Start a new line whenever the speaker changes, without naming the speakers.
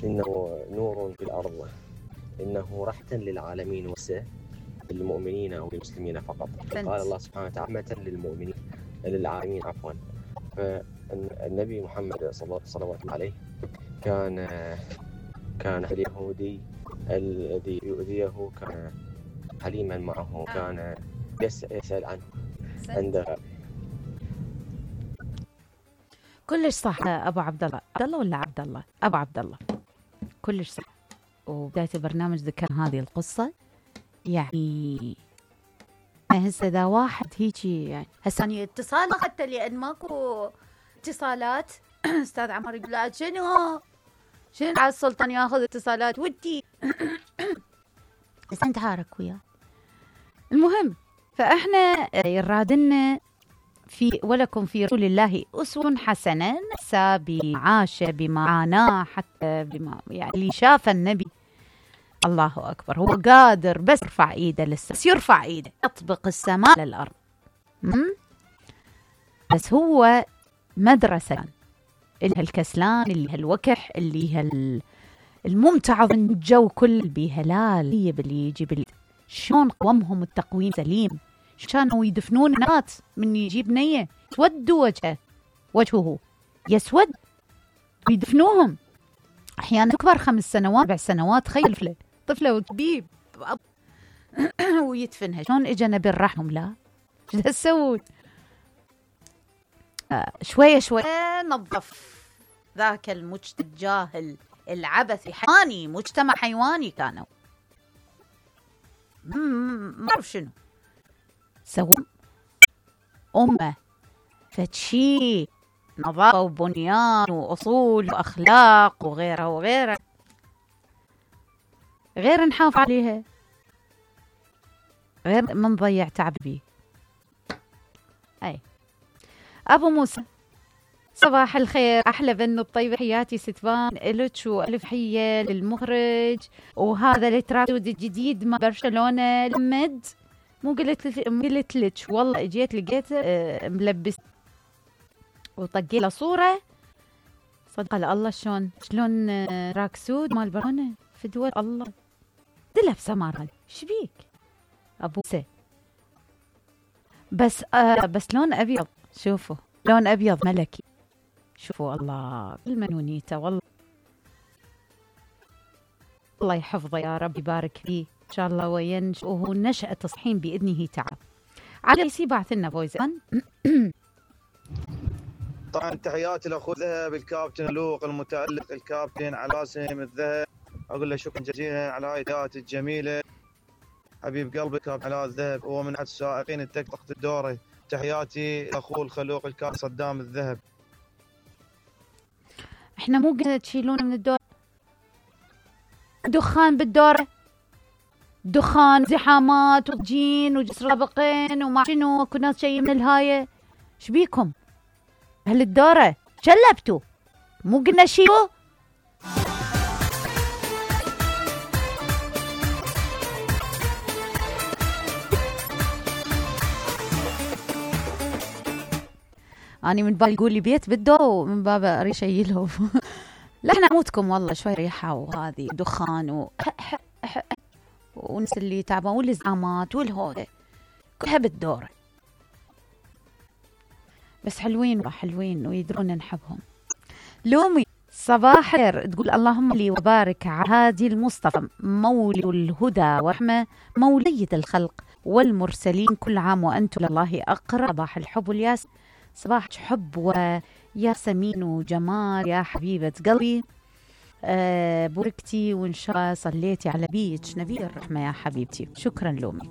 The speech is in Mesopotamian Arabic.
إنه نور في الأرض، إنه رحمة للعالمين وليس للمؤمنين أو للمسلمين فقط. قال الله سبحانه وتعالى رحمة للمؤمنين للعالمين عفوا. فالنبي محمد صلوات الله عليه كان اليهودي الذي يؤذيه كان حليما معه، كان يسأل عنه عند
كلش صح. ابو عبد الله، عبد الله ولا عبد الله؟ ابو عبد الله، كلش صح. وبداية البرنامج ذكر هذه القصة. يعني هسه اذا واحد هيجي يعني هسه يعني اتصال حتى لان ماكو اتصالات استاذ عمر يقول لا شنو على السلطان ياخذ اتصالات ودي بس انت عارك وياه. المهم فاحنا يرادنا في ولكم في رسول الله أسوة حسنة، نسى بمعاشه بمعاناه حتى بما يعني اللي شاف النبي. الله أكبر، هو قادر بس يرفع إيده للسماء، بس يرفع إيده يطبق السماء للأرض. بس هو مدرسة اللي هالكسلان اللي هالوكح اللي الممتعض من الجو كل بهلال باللي يجي شلون قومهم التقويم سليم، كانوا يدفنون ناس من يجيب نية يسود وجهه يسود ويدفنوهم أحيانا أكبر 5 سنوات 4 سنوات. تخيل طفلة وكبيب ويدفنها. شلون إجا نبي الرحم؟ لا شو تسوي؟ شوية نظف ذاك المجتمع الجاهل العبثي حيواني، مجتمع حيواني كانوا ما أعرف شنو سووا أمة فتشي نظافة وبنيان وأصول وأخلاق وغيرها غير نحافظ عليها، غير من ضيع تعب بيه. أي أبو موسى صباح الخير، أحلى بنو الطيبة، حياتي ستفان إلك وألف حية للمخرج. وهذا التراكتود الجديد مع برشلونة لمد مو قلت لك والله اجيت لقيت ملبس وطقيت له صوره صدق الله شلون راكسود مال برشلونة في دول الله تلبسه مال شبيك ابو سي بس لون ابيض، شوفوا لون ابيض ملكي، شوفوا الله المنونيته والله الله يحفظه يا رب يبارك فيه إن شاء الله وينش وهو نشأة تصحيح بإذنه تعالى. على يسي بعث لنا فويزان.
طبعا تحياتي لأخو ذهب الكابتن لوق المتألق الكابتن علاسم الذهب، أقول له شكرا جزيلا على هاي التحيات الجميلة. حبيب قلبي كابتن علاء الذهب هو من أحد السائقين التكتك الدوري. تحياتي لأخو الخلوق الكابتن صدام الذهب.
احنا مو قلنا تشيلون من الدور دخان بالدورة، دخان زحامات وجين وجسر سابقين وما شنو كنا شيء من الهاية. شبيكم هل الدورة شلبتوا مو قلنا شيلوا؟ أنا من باب يقول لي بيت بالدور ومن باب أريد شيله. لا احنا موتكم والله شوي ريحة وهذه دخان ونس اللي تعبان والزعامات والهودة كلها بالدورة، بس حلوين ويدرون نحبهم. لومي صباح خير تقول اللهم لي وبارك على هادي المصطفى مولي الهدى ورحمة موليد الخلق والمرسلين، كل عام وأنتم لله أقرب. صباح الحب والياس، صباح حب وياسمين وجمال يا حبيبة قلبي. بوركتي وإن شاء الله صليتي على بيك نبي الرحمة يا حبيبتي. شكرا لومي.